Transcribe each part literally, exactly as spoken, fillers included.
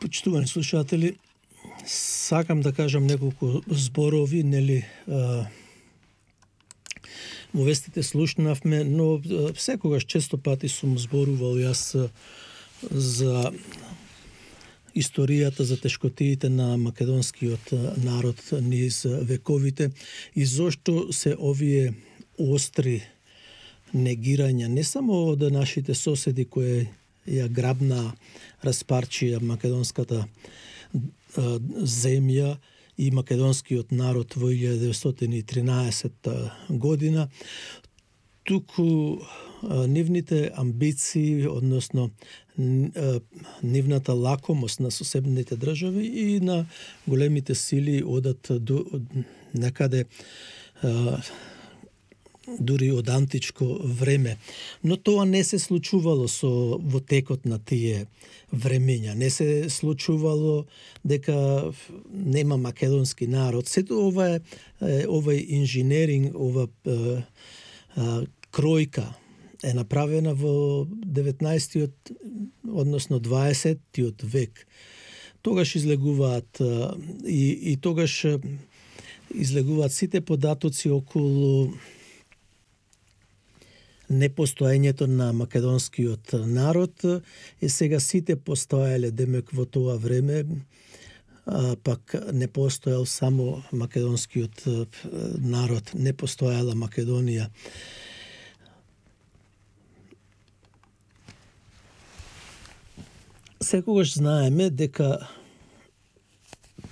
Почитувани слушатели, сакам да кажам неколку зборови, нели, во вестите слушнавме, но секогаш често пати сум зборувал јас за историјата, за тешкотиите на македонскиот народ низ вековите и зошто се овие остри негирања не само од нашите соседи кои ја грабна, распарчија македонската земја и македонскиот народ во илјада деветстотини и тринаесетта година, туку нивните амбиции, односно нивната лакомост на соседните држави и на големите сили одат до некаде дури од античко време. Но тоа не се случувало со во текот на тие времења. Не се случувало дека нема македонски народ. Сето ова е овај инженеринг, ова е, е, кројка е направена во деветнаесеттиот, односно дваесеттиот век. Тогаш излегуваат и, и тогаш излегуваат сите податоци околу непостоењето на македонскиот народ, и сега сите постоеле демек во тоа време, а, пак не постоел само македонскиот народ, не постоела Македонија. Секогаш знаеме дека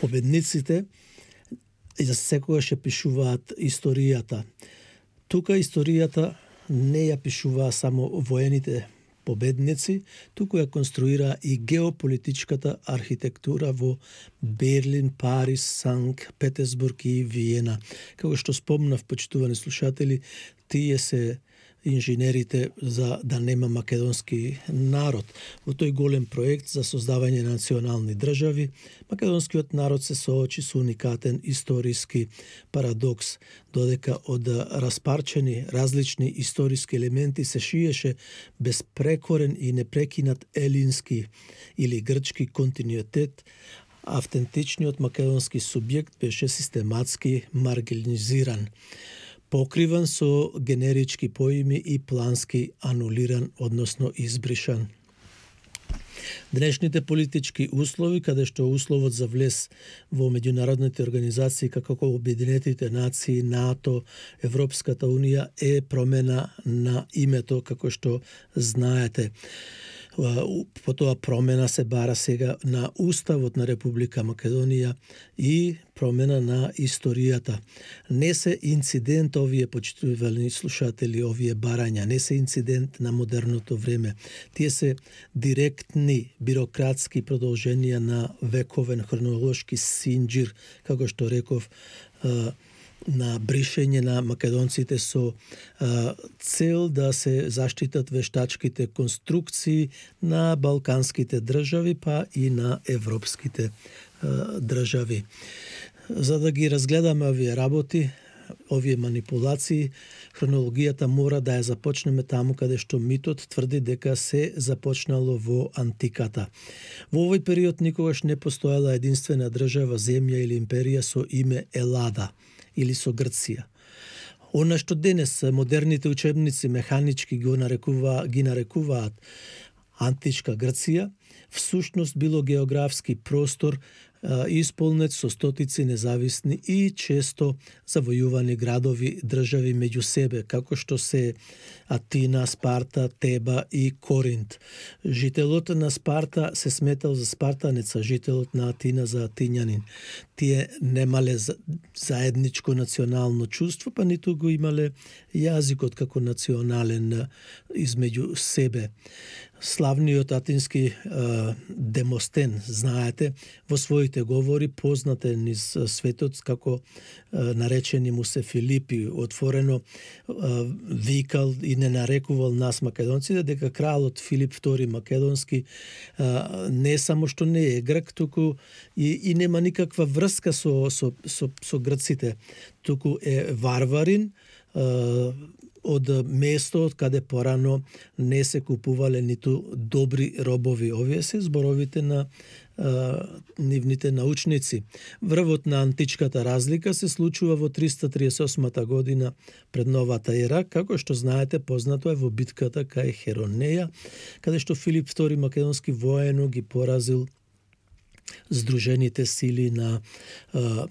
победниците секогаш ја пишуваат историјата. Тука историјата не ја пишуваа само воените победници, туку ја конструира и геополитичката архитектура во Берлин, Париз, Санкт Петерсбург и Виена. Како што спомнав, почитувани слушатели, тие се инженерите за да нема македонски народ. Во тој голем проект за создавање на национални држави, македонскиот народ се соочи со уникатен историски парадокс, додека од распарчени различни историски елементи се шиеше безпрекорен и непрекинат елински или грчки континуитет, автентичниот македонски субјект беше систематски маргинизиран, покриван со генерички поими и плански анулиран, односно избришан. Денешните политички услови, каде што условот за влез во меѓународните организации како Обединетите нации, НАТО, Европската унија е промена на името, како што знаете. Потоа промена се бара сега на Уставот на Република Македонија и промена на историјата. Не се инцидент овие, почитувани слушатели, овие барања, не се инцидент на модерното време. Тие се директни бирократски продолженија на вековен хронолошки синџир, како што реков, на бришење на македонците со а, цел да се заштитат вештачките конструкции на балканските држави, па и на европските а, држави. За да ги разгледаме овие работи, овие манипулации, хронологијата мора да ја започнеме таму каде што митот тврди дека се започнало во антиката. Во овој период никогаш не постоела единствена држава, земја или империја со име Елада или со Грција. Она што денес модерните учебници механички го нарекува, ги нарекуваат античка Грција, всушност било географски простор исполнет со стотици независни и често завојувани градови, држави меѓу себе, како што се Атина, Спарта, Теба и Коринт. Жителот на Спарта се сметал за спартанец, а жителот на Атина за атињанин. Тие немале заедничко национално чувство, па ниту го имале јазикот како национален измеѓу себе. Славниот атински е, Демостен, знаете, во своите говори познате низ светот како е, наречени му се Филипи, отворено е, викал и не нарекувал нас македонците дека кралот Филип втори Македонски е, не само што не е грк, туку и, и нема никаква врска со, со, со, со грците, туку е варварин, е, од место каде порано не се купувале ниту добри робови. Овие се зборовите на а, нивните научници. Врвот на античката разлика се случува во триста триесет и осма година пред новата ера, како што знаете, познато е во битката кај Херонеја, каде што Филип втори македонски воено ги поразил здружените сили на а,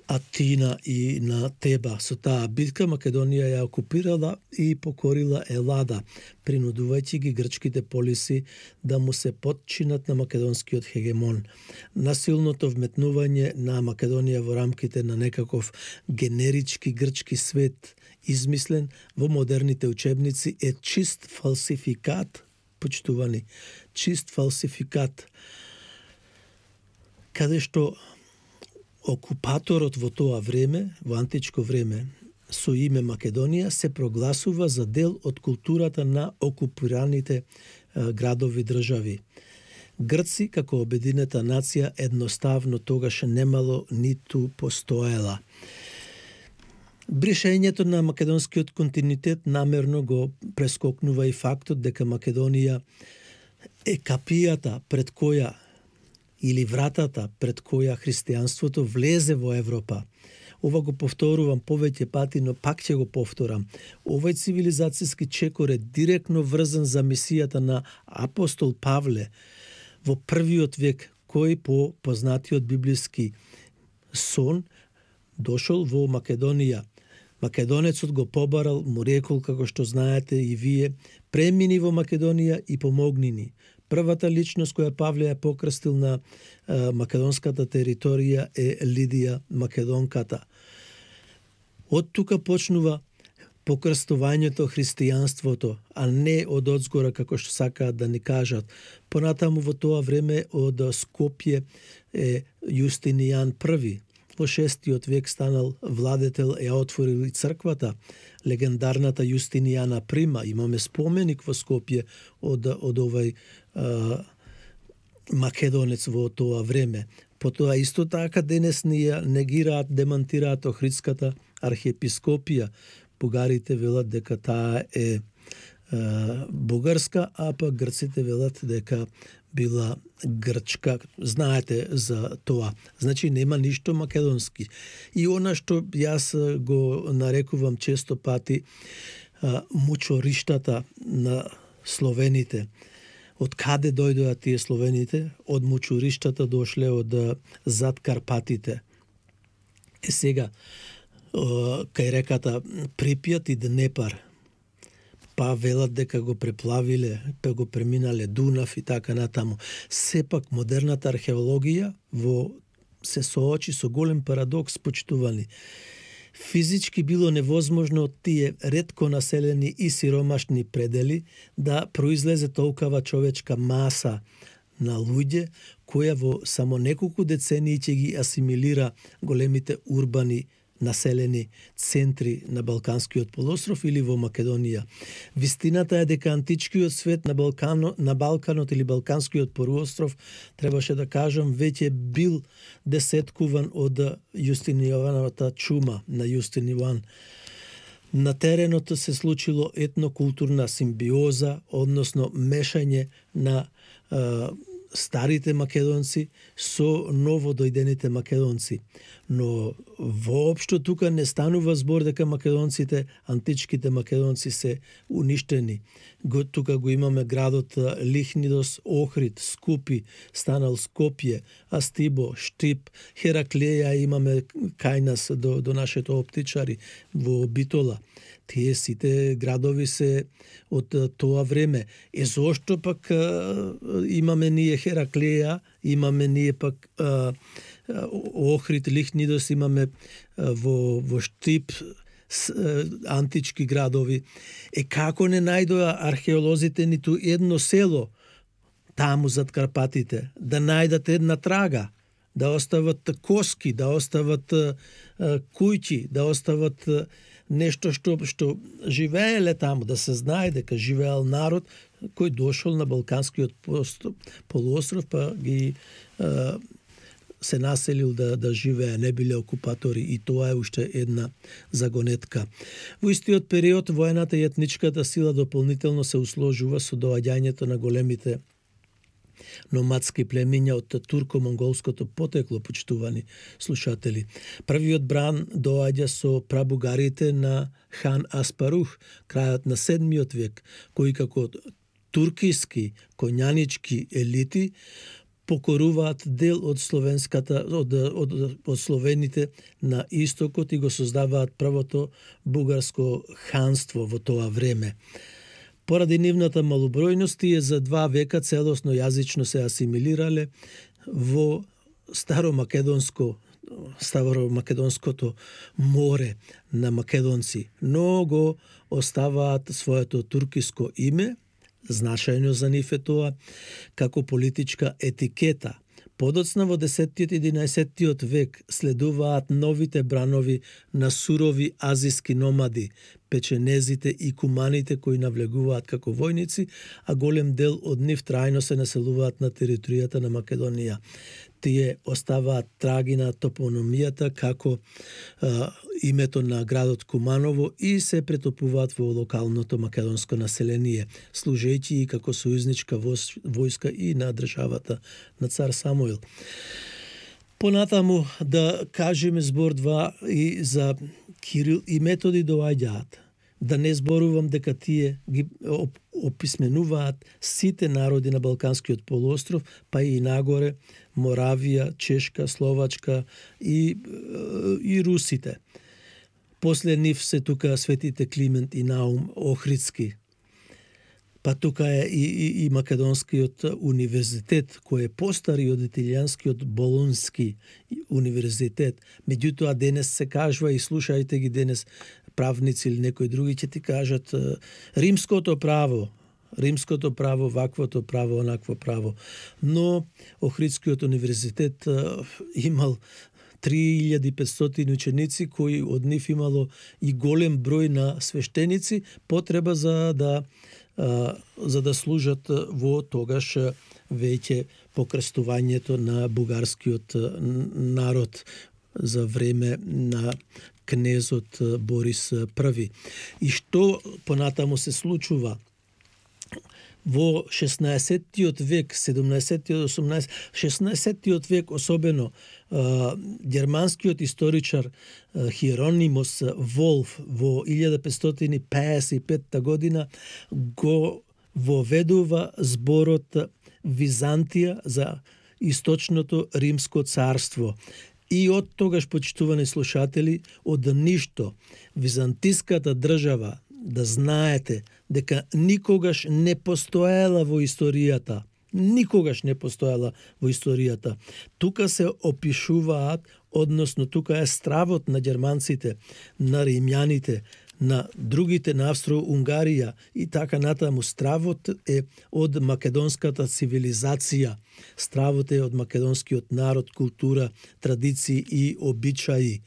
Атина и на Теба. Со таа битка Македонија ја окупирала и покорила Елада, принудувајќи ги грчките полиси да му се подчинат на македонскиот хегемон. Насилното вметнување на Македонија во рамките на некаков генерички грчки свет, измислен во модерните учебници, е чист фалсификат, почитувани, чист фалсификат, каде што окупаторот во тоа време, во античко време, со име Македонија, се прогласува за дел од културата на окупираните е, градови држави. Грци, како обединета нација, едноставно тогаш немало ниту постоела. Бришењето на македонскиот континуитет намерно го прескокнува и фактот дека Македонија е капијата пред која или вратата пред која христијанството влезе во Европа. Ова го повторувам повеќе пати, но пак ќе го повторам. Овој цивилизацијски чекор е директно врзан за мисијата на апостол Павле во првиот век, кој по познатиот библиски сон дошол во Македонија. Македонецот го побарал, му рекол, како што знаете и вие, премини во Македонија и помогни ни. Првата личност која Павле ја покрстил на а, македонската територија е Лидија Македонката. Од тука почнува покрстувањето христијанството, а не од одзгора како што сакаат да ни кажат. Понатаму во тоа време од Скопје е Јустинијан први. Во шестиот век станал владетел, ја отворил и црквата, легендарната Јустинијана Прима. Имаме споменик во Скопје од, од овај а, македонец во тоа време. Потоа исто така денес ни ја негираат, демантираат Охридската архиепископија. Бугарите велат дека таа е а, бугарска, а пак грците велат дека била грчка. Знаете за тоа. Значи нема ништо македонски. И она што јас го нарекувам често пати а, мучориштата на словените. Од каде дојдоа тие словените? Од мучуриштата дошле од зад Карпатите. Е сега, кај реката Припјат и Днепар, па велат дека го преплавиле, па го преминале Дунав и така натаму. Сепак модерната археологија во се соочи со голем парадокс, почитувани. Физички било невозможно од тие ретко населени и сиромашни предели да произлезе толкова човечка маса на луѓе, која во само неколку децении ќе ги асимилира големите урбани населени центри на Балканскиот полуостров или во Македонија. Вистината е дека античкиот свет на, Балкано, на Балканот или Балканскиот полуостров, требаше да кажам, веќе бил десеткуван од Јустинијановата чума на Јустинијан. На теренот се случило етнокултурна симбиоза, односно мешање на е, старите македонци со новодојдените македонци. Но воопшто тука не станува збор дека македонците, античките македонци се уништени. Го, тука го имаме градот Лихнидос, Охрид, Скупи, станал Скопје, Астибо, Штип, Хераклеја имаме кај нас до, до нашето оптичари во Битола. Тие сите градови се од тоа време. Е зошто пак а, имаме ние Хераклеја, имаме ние пак а, Охрид, Лихнидос, имаме а, во, во Штип с, а, антички градови. Е како не најдоа археолозите ниту едно село таму зад Карпатите, да најдат една трага, да остават коски, да остават а, куќи, да остават а, нешто што што живееле таму, да се знае дека живеел народ кој дошол на Балканскиот полуостров, па ги е, се населил да, да живее, не биле окупатори, и тоа е уште една загонетка. Во истиот период воената и етничката сила дополнително се усложува со доаѓањето на големите номадски племиња од турко-монголското потекло, почитувани слушатели. Првиот бран доаѓа со прабугарите на хан Аспарух, крајот на седмиот век, кои како туркиски коњанички елити покоруваат дел од словенската од, од, од словените на истокот и го создаваат првото бугарско ханство во тоа време. Поради нивната малобројност, тие за два века целосно јазично се асимилирале во старомакедонско старомакедонското море на македонци, но го оставаат своето туркиско име, значајно за нив е тоа, како политичка етикета. Подоцна во десеттиот и единаесеттиот век следуваат новите бранови на сурови азиски номади, печенезите и куманите кои навлегуваат како војници, а голем дел од нив трајно се населуваат на територијата на Македонија. Тие оставаат траги на топономијата како а, името на градот Куманово и се претопуваат во локалното македонско население, служејќи и како сојузничка војска и на државата на цар Самуил. Понатаму да кажеме збор два и за Кирил и Методи доаѓаат. Да не зборувам дека тие ги описменуваат сите народи на Балканскиот полуостров, па и нагоре Моравија, Чешка, Словачка и, и русите. После нив се тука светите Климент и Наум Охридски. Па тука е и, и, и Македонскиот универзитет, кој е постари од италијанскиот Болонски универзитет. Меѓутоа денес се кажува, и слушајте ги денес правници или некои други, ќе ти кажат римското право, римското право, ваквото право, онакво право. Но Охридскиот универзитет имал три илјади и петстотини ученици, кои од нив имало и голем број на свештеници, потреба за да за да служат во тогаш веќе покрстувањето на бугарскиот народ за време на кнезот Борис Први. И што понатаму се случува? Во шеснаесеттиот век, седумнаесеттиот, осумнаесеттиот, шеснаесеттиот век особено, германскиот историчар Хиеронимос Волф во илјада петстотини пеесет и петта година го воведува зборот Византија за источното римско царство. И од тогаш, почитувани слушатели, од ништо византиската држава, да знаете дека никогаш не постоела во историјата. Никогаш не постоела во историјата. Тука се опишуваат, односно тука е стравот на германците, на римјаните, на другите на Австро-Унгарија и така натаму. Стравот е од македонската цивилизација. Стравот е од македонскиот народ, култура, традиции и обичаи.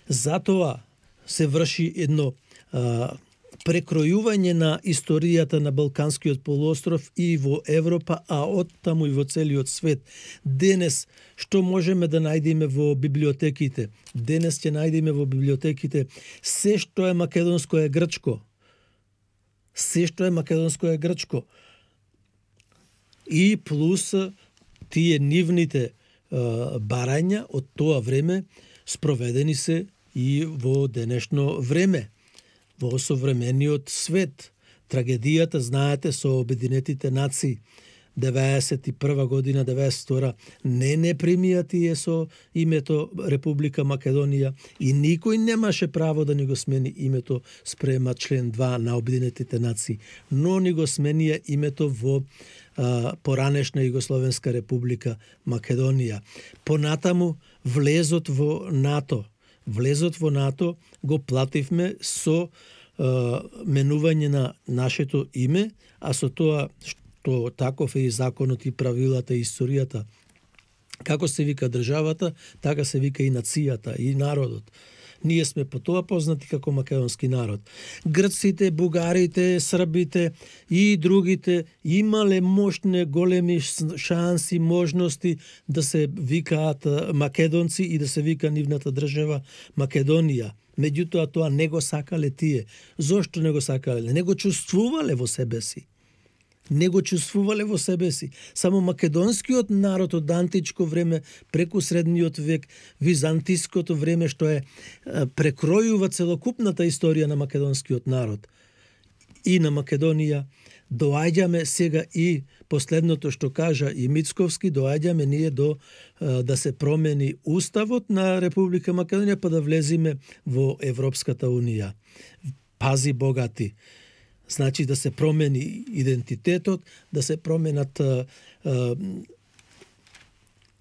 Затоа се врши едно а, прекројување на историјата на Балканскиот полуостров и во Европа, а оттаму и во целиот свет. Денес, што можеме да најдеме во библиотеките? Денес ќе најдеме во библиотеките се што е македонско е грчко. Се што е македонско е грчко. И плюс тие нивните а, барања од тоа време спроведени се и во денешно време. Во современиот свет. Трагедијата, знаете, со Обединетите нации, деветдесет и прва година, деветдесет и втора, не не примија тие со името Република Македонија и никој немаше право да ни го смени името спрема член два на Обединетите нации, но ни го сменија името во а, поранешна Југословенска Република Македонија. Понатаму влезот во НАТО. Влезот во НАТО го плативме со е, менување на нашето име, а со тоа што таков е и законот и правилата и историјата. Како се вика државата, така се вика и нацијата, и народот. Ние сме по тоа познати како македонски народ. Грците, бугарите, србите и другите имале мощни големи шанси, можности да се викаат македонци и да се вика нивната држава Македонија. Меѓутоа тоа не го сакале тие. Зошто не го сакале? Не го чувствувале во себе си. Не го чувствувале во себе си. Само македонскиот народ од античко време, преку средниот век, византиското време, што е прекројува целокупната историја на македонскиот народ и на Македонија, доаѓаме сега и последното што кажа и Мицковски, доаѓаме ние до да се промени уставот на Република Македонија, па да влезиме во Европската унија. Пази богати. Значи да се промени идентитетот, да се променат а, а,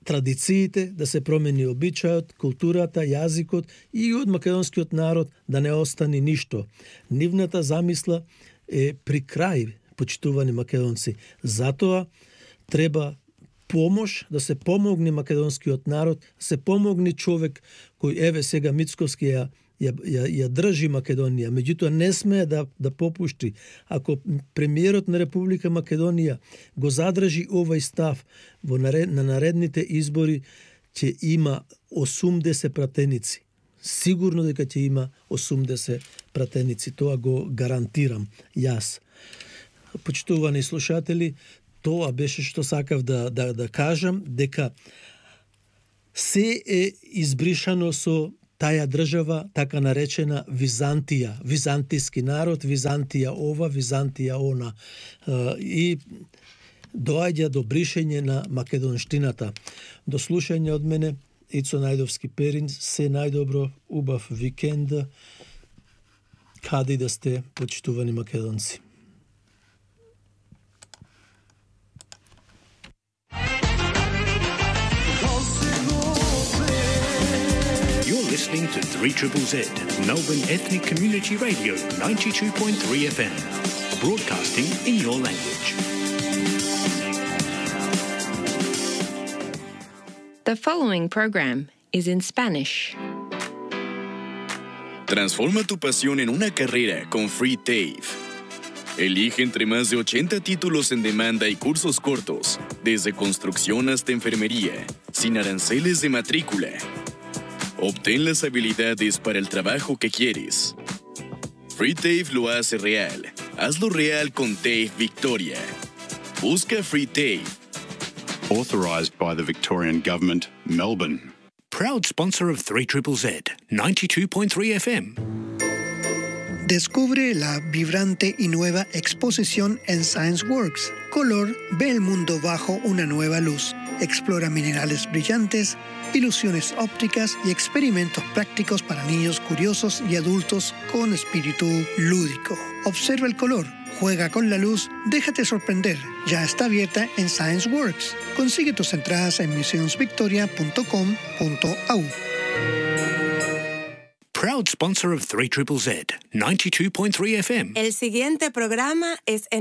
традициите, да се промени обичајот, културата, јазикот и од македонскиот народ да не остане ништо. Нивната замисла е при крај, почитувани македонци. Затоа треба помош, да се помогне македонскиот народ, се помогне човек кој еве сега Мицковски ја Ја, ја, ја држи Македонија, меѓутоа не смее да, да попушти. Ако премиерот на Република Македонија го задржи овој став во наред, на наредните избори, ќе има осумдесет пратеници. Сигурно дека ќе има осумдесет пратеници, тоа го гарантирам јас. Почитувани слушатели, тоа беше што сакав да, да, да кажам, дека се е избришано со таја држава, така наречена Византија, византиски народ, Византија ова, Византија она. И доаѓа до бришење на македонштината. До слушање од мене, Ицо Најдовски Перин, се најдобро, убав викенд, каде да сте, почитувани македонци. Listening to three Z Z, Melbourne Ethnic Community Radio, ninety-two point three F M, broadcasting in your language. The following program is in Spanish. Transforma tu pasión en una carrera con Free TAFE. Elige entre más de ochenta títulos en demanda y cursos cortos, desde construcción hasta enfermería, sin aranceles de matrícula. Obtén las habilidades para el trabajo que quieres. Free TAFE lo hace real. Hazlo real con TAFE Victoria. Busca Free TAFE. Authorised by the Victorian Government, Melbourne. Proud sponsor of three Z Z, ninety-two point three F M. Descubre la vibrante y nueva exposición en ScienceWorks. Color ve el mundo bajo una nueva luz. Explora minerales brillantes, ilusiones ópticas y experimentos prácticos para niños curiosos y adultos con espíritu lúdico. Observa el color, juega con la luz, déjate sorprender. Ya está abierta en ScienceWorks. Consigue tus entradas en museums victoria punto com punto a u. Proud sponsor of three Z Z, ninety-two point three F M. El siguiente programa es en